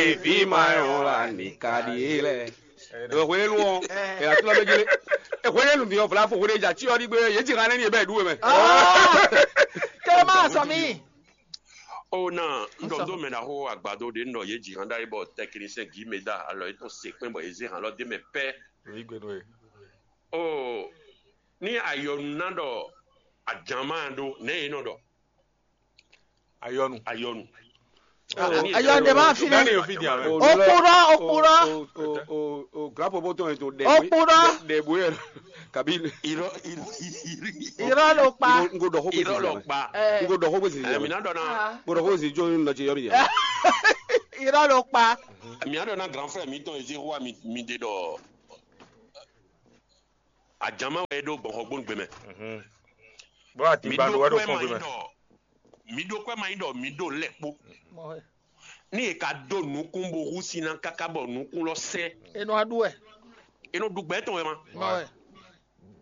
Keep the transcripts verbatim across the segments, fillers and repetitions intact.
Evi ma yɔn la ni ka ɖi é lɛ. Ewɔ hwelenu ɔ, ɛ atula bɛ jele. Ɛ hwelenu ni ɔ vla fo hwele ja tsi ɔ ɖi gbe ye dzi hã nɛ ni ebe ɖu mɛ. Kɛ ma sɔ mi. O na n ɖɔ do mɛ na xo agbado ɖe n ɖɔ ye dzi hã ɖa yi bɔ tɛkinisɛn gi mɛ da alɔ yi tɔn se kpɛn bɔ ye ze hã lɔ de mɛ pɛ. Yi gbe do ye. O ni ayɔnu na ɖɔ ajama ɖo nɛ ye nɔ ɖɔ. Ayɔnu. Ayɔnu. Ayɔnu ɖe ma fi Dani ne. Yo fi dia mɛ. Okpɔɖɔ, okpɔɖɔ. O o o o grapo bɔtɔ yẹn to dɛ. Okpɔɖɔ. Dɛ bo yɛ kabi. Irọ́ irọ́ irọ́. Irọ́ ló pa. N ko dɔ ko bɛ Irọ́ ló pa. N ko dɔ ko bɛ sisi. Ɛ mi na dɔ na. N ko dɔ ko bɛ sisi jɔn lɔ cɛ yɔ mi yɛ. Irọ́ ló pa. Mi na dɔ na grand frère mi tɔn ezi wa mi mi de dɔ. Ajama wɛ e ɖo gbɔn xɔgbónu gbe mɛ. Bó mi atingba ɖo ɖó wɛ ɖo kwɛ fɔn ma gbe yi mɛ. Ɖɔ mi ɖo kwɛ ma yi ɖɔ mi ɖo lɛ kpó. Ní e ka dó nukún bo hú sín ná káká bɔ nukún lɔ sɛ́. Enɔ aɖu wɛ. E nɔ ɖu gbɛ tɔn wɛ ma. Mɔ wɛ.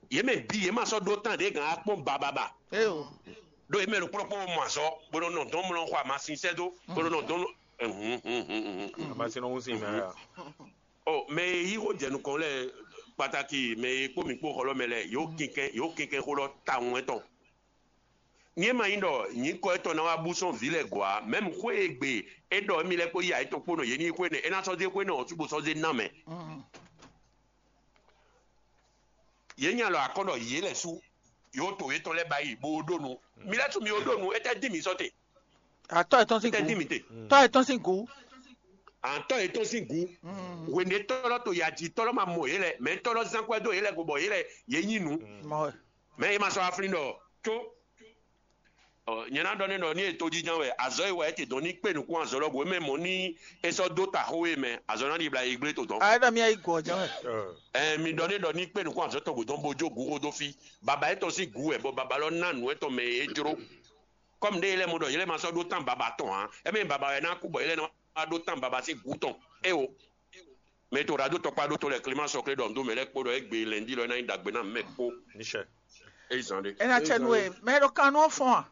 Yě mɛ bí yě ma sɔ́ ɖó tán ɖě gǎn akpɔ́n bababa. Eo. Ɖó yě mɛ ɖo kplɔ́kpɔ́ mɔ azɔ bó nɔ nɔ dɔn mlɔ xɔ amasin sɛ́ dó bó nɔ nɔ dɔn. Amasin nɔ hún sin mɛ ya. Ɔ mɛ e yí xó jɛ nukɔn lɛ kpataki mɛ e kpó mi kpó xɔlɔ mɛ lɛ yóò kinkɛn yóò kinkɛn xó lɔ tawun ɛtɔn. Ní e ma nyí ɖɔ nyǐkɔ étɔn ná wá bú sɔ́n vǐ lɛ́ɛ gɔ̌ ǎ, mɛ̌mu xwé e gbe é ɖɔ émí lɛ́ɛ kpó yí ayǐtɔn kpó nɔ yě ní xwé nɛ́ é ná sɔ́ zé xwé nɛ́ ɔ́ cúgbó sɔ́ zé ná mɛ. Yě nya lɔ akɔ́ ɖɔ yě lɛ́ sú yǒ to yětɔn lɛ́ɛ ba yi bó ɖó nu. Mi lɛ́ sú mi ó ɖó nu, étɛ́ dín mi sɔ́ te? Atɔ́ yětɔn sín Étɛ́ dín gǔ. Mi te? Tɔ́ yětɔn sín gǔ. Àtɔ́ yětɔn sín gǔ. Hwěnɛtɔ́ lɔ to yǎjitɔ́ lɔ ma mɔ yě lɛ, mɛ tɔ́ lɔ zán kwɛ́ dó yě lɛ go bɔ yě lɛ yě nyi nǔ. Mɔ wɛ. Mɛ e ma sɔ́ aflín ɖɔ tó. Ɔ, nyɛ ná ɖɔ n'i ɖɔ ní e tojínjɔ́n wɛ azɔ̌ e wa é te dɔn ní kpé nukún azɔ̌ lɔ bǔ é mɛ mɔ̌ ní é sɔ́ dó ta xó e mɛ azɔ̌ ná ɖibla yi gblé to dɔn. Ayé ɖɔ mí ayi gɔ̌ jɛ́n wɛ. Ɛ mi ɖɔ n'i ɖɔ ní kpé nukún azɔ̌ tɔn gǔ dɔn bó jó gǔ xó dó fí. Baba étɔn sín gǔ wɛ bɔ baba lɔ ná nǔ étɔn mɛ e jló. Kɔ́mu ɖé yě lɛ́ mɔ ɖɔ yě lɛ́ ma sɔ́ ɖó tán baba tɔn ǎ, é mɛ baba wɛ ná kú bɔ yě lɛ́ ná wá ɖó tán baba sín gǔ tɔn. É o. Mɛ to ɖadó tɔkpá ɖó to lɛ Clément Sɔklé ɖɔ nǔ dó mɛ lɛ́ɛ kpó ɖɔ é gbe lɛ̌ndí lɔ é ná nyí ɖagbe ná mɛ kpó. Níṣẹ́. É zan ɖé. Ena cɛ nu e mɛ ɖo kan nú fɔn a?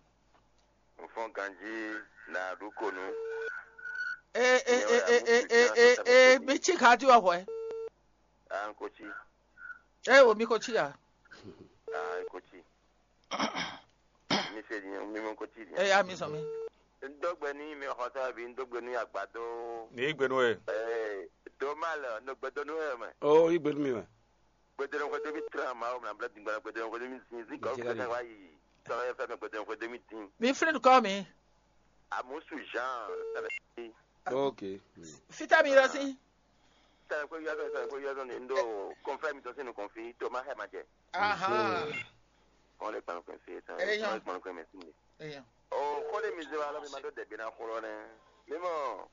N fɔn ganjí na ɖu ko nu. E e e e e e e e mi tsi ka di wɔ hwɛ. Ah, n ko tsi. E wo mi ko tsi a? Ah, n ko tsi. Mi se di mi mo ko tsi di. E ya mi sɔn mi. N dó gbe ní mi xɔsá bí n dó gbe ní agbadó. Ní yí gbe nú ẹ. Ee, tó má lọ, n dó gbe dó nú ẹ mɛ. Ó yí gbe nú mi mɛ. Gbedenu xwe demi tran ma o mla bla dingba gbedenu xwe demi sin sin kɔ Jɛgɛ gbedenu de. Wa yi. Sɔrɔ yɛ fɛ mɛ gbedenu xwe demi tin. Mi flin kɔ mi. Amusu Jean. Ok. Fita mi lọ sí. Sɛ ko yɔ sɛ ko yɔ sɛ ndo confirm to sinu confirm to ma hɛ ma jɛ. Aha. Kɔn le kpan kɔn se sɛ. Eyan. Kɔn le kpan kɔn mɛ sin. Eyan. O ko le mi ze wa lɔ mi ma do dɛ bi na xɔlɔ nɛ. Mi mɔ.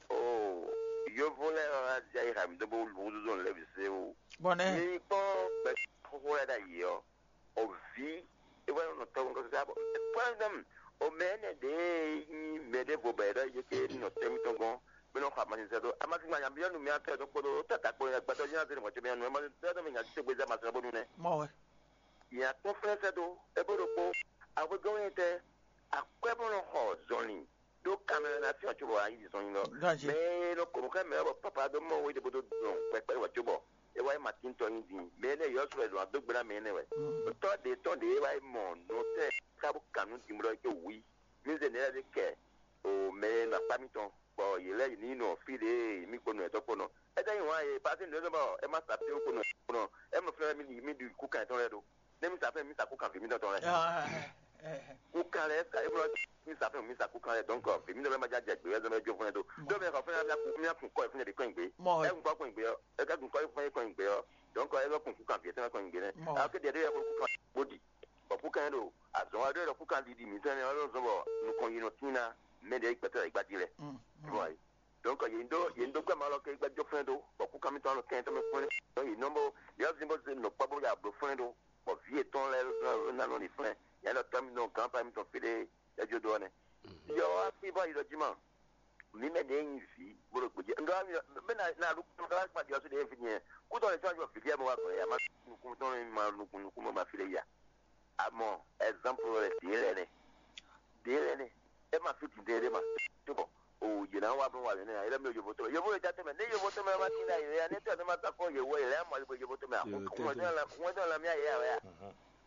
O yovo lɛ wa ja yi ha mi do bo lu zo lɛ bi se o. Bɔnɛ. Mi kpɔn gbɛ xɔxɔ lɛ da yi ɔ. O vǐ, é wɛ nɔ tɔ́ gɔ́ sá bɔ kpɔ́ndɔm o mɛ énɛ́ ɖě nyí mɛ ɖěvo bɔ è ɖɔ yě ké nɔ tɛ́ mitɔn gɔ́n bó nɔ xɔ amasin sɛ́ dó. Amasin ma nya byɔ́ nu mì atɔ́ ɛ dó kpódó tata kpó nya gbɛtɔ́ nya zé mɔ̌ cóbí nya nu ɛ ma sɛ́ dó mì nya títí gbézá amasin bó nu nɛ́. Mɔ wɛ. Nya tɔ́n flɛ́ sɛ́ dó é bó ɖokpó ahwegɔ́n wɛ tɛ́ akwɛ́ bó nɔ xɔ zɔnlin ɖó kanmɛ ná fyɔ́n cóbɔ ayí zɔn nyi lɔ. Ganji. Mɛ e nɔ kɔn xɛ mɛ bɔ papa ɖó mɔ wé ɖěbó dó dɔn kpɛkpɛ wɛ cóbɔ é wá yi Matín tɔn nyi din. Mɛ énɛ́ yɔ́ sɔ́ wɛ ɖo adó gbe ná mɛ énɛ́ wɛ. Tɔ́ ɖě tɔn ɖě é wá yi mɔ nɔ tɛ́ ká bó kan nú din bó ɖɔ é có wú yí. Mí zé nɛ́ lɛ́ɛ ɖé kɛ o mɛ e nɔ akpá mítɔn bɔ yě lɛ́ yi ní nɔ fí ɖě mí kpo nɔ ɛtɔ́ kpo nɔ. É tɛ́ nyí wǎn e pasí nǔ é zɔ́n bɔ é má sa fí kpo nɔ kpo nɔ. É mɔ fínɛ́ mí ɖi mí ɖi kú kan yětɔn lɛ́ɛ ɖó. Nɛ́ mí sa fɛ́n mí sa kú kan vǐ mítɔn tɔn lɛ́ɛ. Kukan lɛ sa e blɔ mi sa fɛn mi sa kukan lɛ donc vě mi nɔ bɛ ma dza jɛ gbe wɛ zɔn bɛ jo fún ɛ do do mɛ xɔ fún ɛ mi kun mi kun kɔ fún ɛ de kɔn gbe. Mɔ. Ɛ kun kɔ kɔn gbe ɔ ɛ ka kun kɔ fún ɛ kɔn gbe ɔ donc ɛ bɛ kun kukan vǐ ɛ tɛn kɔn gbe nɛ. Mɔ. A ke diɛ de yɛ ko kukan bodi bɔ kukan yɛ do azɔn wa do yɛ kukan didi mi tɛn ɛ lɔ zɔn bɔ nukɔn yi nɔ tin na mɛ de gbɛtɔ yi gba di lɛ. Bɔ yi donc yě do yě do gbɛ ma lɔ ke gba jo fún ɛ do bɔ kukan mi tɔn lɔ kɛn tɔn mi fún ɛ donc yě nɔ bɔ yɛ zin bɔ zin nɔ kpɔ bɔ ya blo fún ɛ do bɔ vǐ yětɔn lɛ́ɛ ná nɔ ɖi flɛ́n, nyɛ ɖɔ tɔ́ mitɔn gǎnpa mitɔn fí ɖé é jó dó ɔ́ nɛ́. Yɔ wá fí bɔ yi ɖɔ jí ma, mǐ mɛ ɖě nyi vǐ bó ɖo gbějɛ. Ŋgá mi bɛ na na ɖu ŋgá wá kpa ɖiɔ sú ɖě fí nyɛ. Kútɔ lè sɔ́ vǐ lɛ́ɛ mɔ wá gbɔn yɛ, a má nukún tɔn ma nukún nukún mɔ ma fí lɛ ya. Amɔ ɛzanpu lɛ ɖě lɛ nɛ. Ɖě lɛ nɛ. É ma fí dǐndɛn ɖé ma. Tó bɔ o Yě ná wá bló wǎ yě nɛ́ ǎ, yě lɛ́ mì ɖo yovo tɔn mɛ. Yovo e jɛ tɔn mɛ, nɛ́ yovo tɔn mɛ ma tín ɖ'ayǐ wɛ ǎ, nɛ́ tɔ́ ɛ nɔ ma ta kpɔ́n yě wɛ, yě lɛ́ mɔ yě bo yovo tɔn mɛ ǎ. Wɛn dɔn lan mì ayǐ ǎ wɛ a?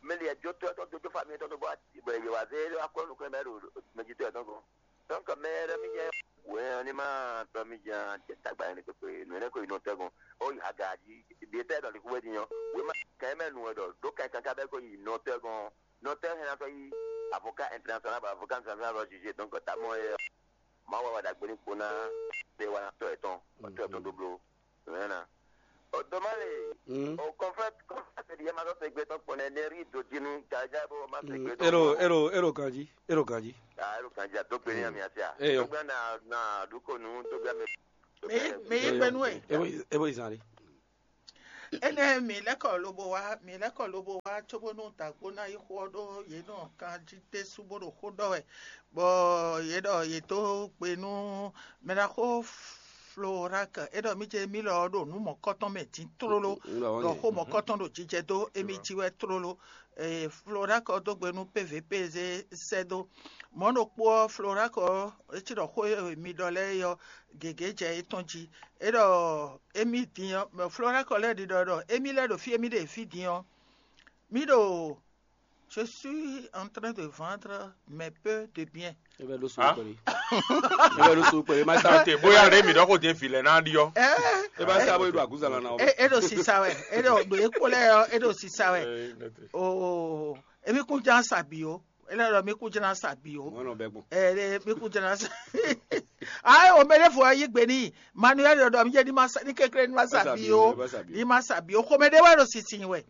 Mɛ li ɛ jó tó ɛ tɔn dó jó fa mì tɔn dó bɔ yě wá zé akɔ́ nukún mɛ ɖo mɛ jí tó ɛ tɔn gɔ́n. Donc mɛ ɖé mi jɛ wɛ ɔ́ ní ma tɔ́ mi jɛ jɛ tagba yẹn ní kpékpé nǔ énɛ́ ko yi nɔ tɛ́ gɔ́n. Ó yi aga jí, ɖě tɛ́ ɖɔ lǐkú wɛ din ɔ́, wěma kɛn mɛ nǔ wɛ ɖɔ ɖó kɛn kankan bɛ́ ko yi nɔ tɛ́ gɔ́n. Nɔ tɛ́ hɛn ná tɔ́ yi avocat international bɔ avocat international lɔ jugé, donc tamɔ é Mawu wɛ wá ɖagbe ní kpo ná ɖe wá ná tɔ́ yětɔn, bɔ tɔ́ yětɔn dó bló. Mɛ̌na. O dó má le. O kɔnfɛ́t kɔnfɛ́t ɖi yɛ ma zɔ́ segbe tɔn kpɔ́n nɛ, ne rí dodinu jaja bó má segbe tɔn. Ero ero ero ganji, ero ganji. Ah, ero ganji a dó gbe ní ami asi a. Eyo. Dó gbe na na dúkò nù, dó gbe mi. Mi mi yi gbenu e. Ebo ebo izan de. Énɛ́ mǐ lɛ́ kɔ lobo wá, mǐ lɛ́ kɔ lobo wá cóbónú dǎgbó ná yi xó ɔ́ ɖó yě nɔ kan jí ɖésú bó ɖo xó ɖɔ wɛ, bɔ yě ɖɔ yě dó gbe nú mɛɖaxó Florak, é ɖɔ mí ce mí lɔ ɔ́ ɖo nǔ mɔ̌kɔtɔn mɛ din tlóló, ɖɔ xó mɔ̌kɔtɔn ɖo jijɛ dó émí jí wɛ tlóló. Florak ɔ́ dó gbe nú P V P zé sɛ́ dó. Mɔ̌ ɖokpó ɔ́, Florak ɔ́, é cí ɖɔ xó e mi ɖɔ lɛ́ɛ é ɔ́, gěgé jɛ é tɔn jí. É ɖɔ émí din ɔ́, Florak ɔ́ lɛ́ ɖiɖɔ ɖɔ émí lɛ́ ɖo fí émí ɖe fí din ɔ́, mí ɖo je suis en train de vendre mes peu de bien. E bɛ ɖo so kpɛli. E bɛ ɖo so kpɛli. Ma sa te bóyá ɖe mi ɖɔ ko jɛ vi lɛ n'a ɖi ɔ. E ba sa bo e ɖo aguzala na o. E ɖo sisa wɛ, e ɖo ɖo ekpo lɛ ɔ, e ɖo sisa wɛ. Oo, emi kun jan sa bi o. E lɛ ɖɔ mi kun jan sa bi o. Mɔnɔ bɛ gbɔn. Ɛ mi kun jan sa. Ayi o mɛ ɖe fo yi gbe ni. Manuel ɖɔ ɖɔ mi jɛ ni ma sa ni kekle ni ma sa bi o. Ni ma sa bi o. Xomɛ ɖe wɛ ɖo sisin wɛ.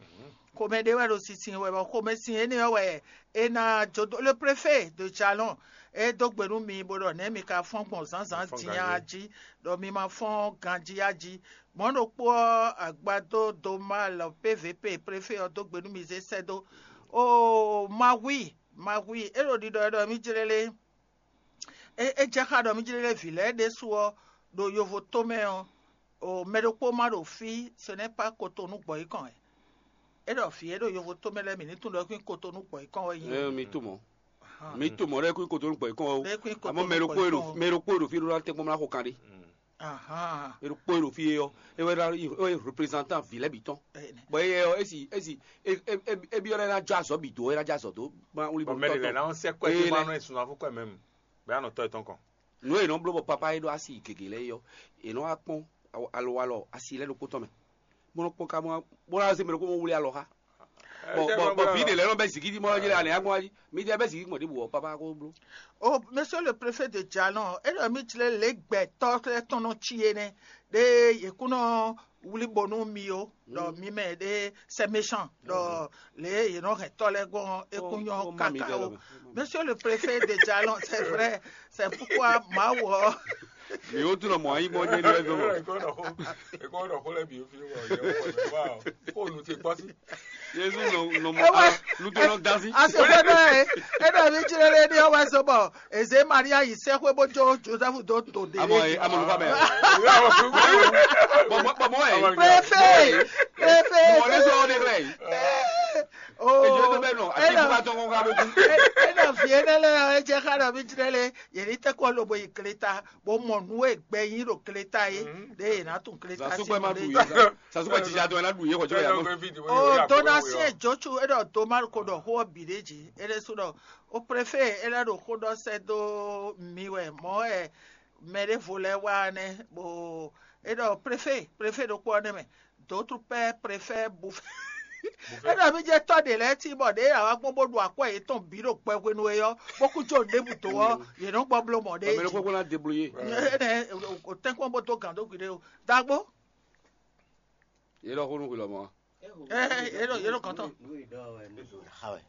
Xomɛ ɖé wɛ ɖo sinsin wɛ, bɔ xomɛsin énɛ́ ɔ́ wɛ è nǎ jó dó. Le préfet de Jalɔn é dó gbe nú mi bó ɖɔ nɛ̌ mi ka fɔ́n gbɔn zǎnzǎn din a jí, ɖɔ mi ma fɔ́n ganjí a jí. Mɔ̌ ɖokpó ɔ́, agbadó Domal P V P préfet ɔ́ dó gbe nú mi zé sɛ́ dó. Oo, Mawi, Mawi, é ɖo ɖiɖɔ wɛ ɖɔ mí jlé lé. É jɛ xá ɖɔ mí jlé lé vǐ lɛ́ɛ ɖésú ɔ́ ɖo yovo tó mɛ ɔ́, mɛ ɖokpó ma ɖo fí, ce n'est pas Cotonou gbɔ̌ yí kɔn wɛ. É ɖɔ vǐ e ɖo yovo tó mɛ lɛ́ɛ mǐ ní tunwun ɖɔ é kún nyí Cotonou gbɔ̌ yí kɔn wɛ nyí. Ɛ mi to mɔ. Mi to mɔ ɖɔ é kún nyí Cotonou gbɔ̌ yí kɔn wɛ o. Amɔ mɛ ɖokpó e ɖo mɛ ɖokpó e ɖo fí ɖó ná tɛ́nkpɔ́n mlá xo kan ɖé. Ahan. E ɖokpó e ɖo fí é ɔ́, é wɛ ɖo é wɛ représentant vǐ lɛ́ɛ bǐ tɔn. Bɔ é ɔ́, é si é si é é é byɔ́ ɖɔ é ná jɔ azɔ̌ bǐ dó, é ná jɔ azɔ̌ dó. Bɔ mɛ ɖě lɛ́ɛ ná sɛ́ kwɛ́ dó ma nɔ sunafú kwɛ́ mɛ mu, bɛ anɔ tɔ́ yětɔn kɔn. Nǔ e è nɔ bló bɔ papá e ɖó asi gěgé lɛ́ɛ é ɔ́, è nɔ wá kpɔ́n alowalɔ asi lɛ́ɛ ɖokpó tɔn mɛ. Bó nɔ kpɔ́n ká bó ná zé mɛ ɖokpó bó wlí alɔ xá. Bɔ bɔ bɔ vǐ ɖě lɛ́ɛ nɔ bɛ́ zǐngídi mɔ ɔ́ jí lɛ anɛ ǎ gbɔn jí. Mi jɛ bɛ́ zǐngídi gbɔn ɖěbǔ ɔ́, papá ko bló. O, monsieur le préfet de Jalon, é ɖɔ mí jlé lě gbɛtɔ́ lɛ́ɛ tɔn nɔ cí é nɛ́, ɖé yě kún nɔ wlí bo nú mi ó, ɖɔ mi mɛ ɖé c'est méchant, ɖɔ lě yě nɔ hɛn tɔ́ lɛ́ɛ gbɔn é kún nyɔ́ káká ó. Monsieur le préfet de Jalon, c'est vrai, c'est pourquoi Mawu ɔ́. Mi wo tunɔ mɔ anyi gbɔn jɛ ni wɛ zɔn. Ekɔ ɖɔ xó lɛ bi fi wɔ yɛ wɔ wɔ ko nu te kpɔsi. Yesu nɔ nɔ mɔ nutɔnɔ gazi. Ase fɛ dɔ ye, e dɔ mi jire le ni ɔwɛ so bɔ eze Maria yi sɛ xwe bo jo Joseph do to de. Amɔ ye amɔ nufa bɛ. Bɔbɔ bɔbɔ ye. Préfet, préfet. Mɔ ne sɔ ne klɛ. Oh. Ejo to bɛ nɔ ati buka tɔn kɔn ka bo kun. E dɔ fie ne lɛ e jɛ xa dɔ mi jire le, ye ni tɛ kɔ lobo yi kleta. Bó mɔ nǔ e gbɛ yí ɖo kleta é, ɖé è nǎ tunwun kleta sín nǔ ɖé. Sasúkpɛ jija tɔn ná ɖu yé xɔjɔ yà mɔ. O donation jocu e ɖɔ Domal ko ɖɔ xó ɔ́ bǐ ɖé jí. É ɖésú ɖɔ o préfet é lɛ́ ɖo xó ɖɔ sɛ́ dó mi wɛ mɔ̌ wɛ mɛ ɖěvo lɛ́ɛ wá nɛ́, bó é ɖɔ préfet, préfet ɖokpó ɔ́ nɛ́ mɛ. D'autres pères préfèrent bouffer. É ɖɔ mí jẹ́ tɔ́ ɖě lɛ́ɛ cí bɔ ɖěe yě wá gbɔn bó ɖu akwɛ́ yětɔn bǐ ɖo gbɛ hwenu e ɔ́, bó kú jó nǔɖébǔ dó ɔ́, yě nɔ gbɔ bló mɔ̌ ɖé. Mɛ ɖokpó kó ná débloyé. Tɛ́nkpɔ́n bó dó gǎn dó gwiɖe o. Dagbo. Yě ɖɔ xó nú hwi lɔmɔ̌. Yě ɖɔ yě ɖɔ gǎn tɔn. Xa wɛ.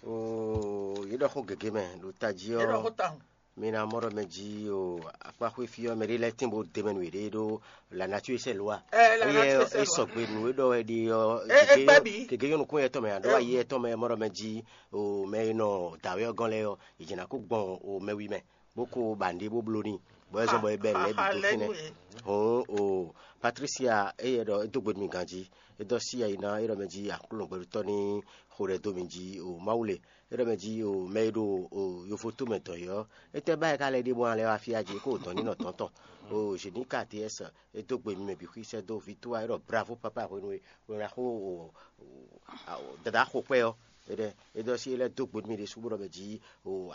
Oo, yě ɖɔ xó gěgé mɛ ɖo tají ɔ́. Yě ɖɔ xó tawun. Mi ná mɔ ɖɔ mɛ jí o akpáxwé fí ɔ́, mɛ ɖé lɛ́ɛ tín bó de mɛ nú yěɖée ɖó la nature sɛ lwa. Eye é sɔgbe nǔ e ɖɔ wɛ ɖi ɔ́, gěgé yɔ́ nukún yɛ tɔn mɛ aɖó ayi yɛ tɔn mɛ mɔ ɖɔ mɛ jí o mɛ e nɔ dǎwé ɔ́ gɔ́n lɛ́ɛ ɔ́, è jɛ ná kó gbɔn o mɛwi mɛ. bó kó ba nǔɖé bó bló n'i, bɔ é zɔ́n bɔ é bɛ́ nǔ lɛ́ɛ bǐ dó fínɛ́. Hǔn o Patricia, éyɛ́ ɖɔ é dó gbe nú mì ganjí, é dɔ́ sí ayi ná é ɖɔ mɛ jí Aklúnɔ gbɛɖutɔ́ ní xo ɖɛ dó mì jí o Mawu le. É ɖɔ mɛ jí o mɛ e ɖo o yovo tó mɛ dɔn é ɔ́, étɛ́ ba é ka lɛ́ ɖe bó ná lɛ́ wá fí a jí é kó dɔn ní nɔ dɔn tɔn. O Zěnika T S, é dó gbe nú mɛ bǐ xwí sɛ́ dó vǐ tó wá é ɖɔ bravo papa hwenu e hwenu e a xo o dada xo kpɛ́ ɔ́. Éɖɛ́ é ɖɔ sí é lɛ́ dó gbe nú mì ɖésú bó ɖɔ mɛ jí o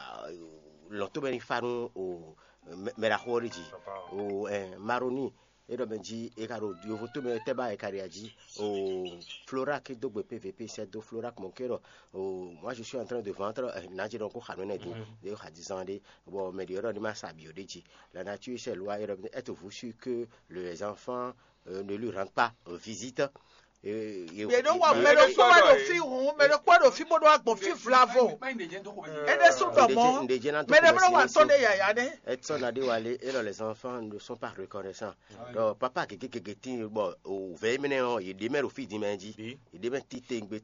lɔ̌n tó mɛ ní fá nú o mɛ ɖaxó ɔ́ ɖi jí o Maroni. É ɖɔ mɛ jí é ka ɖo yovo tó mɛ tɛ́ ba é ka ɖi ají o Florak dó gbe P V P sɛ́ dó Florak mɔ ké ɖɔ o moi je suis en train de vendre nǎ jí ɖɔ kó xa nǔ énɛ́ dó ɖé xa dizan ɖé. Bɔ mɛ ɖě ɔ́ ɖɔ ní ma sa bǐ ó ɖé jí. La nature c'est loi é ɖɔ mɛ être vous sûr que les enfants euh, ne lui rendent pas euh, visite. Mɛ ɖokpó wɛ ɖo fí hǔn, mɛ ɖokpó wɛ ɖo fí bó ɖó agbɔn fí vlavo. É ɖésú ɖɔ mɔ̌, mɛ ɖé mlɔ́ wa tɔ́ ɖé yǎyá nɛ́. Edson Adéwalé et là, les enfants ne sont pas reconnaissants. Donc papa gégé gégé tí bɔ òvɛ émí nɛ ɔ́ yě ɖé mɛ ɖo fí dín mɛ jí, yě ɖé mɛ títewungbe tɔn.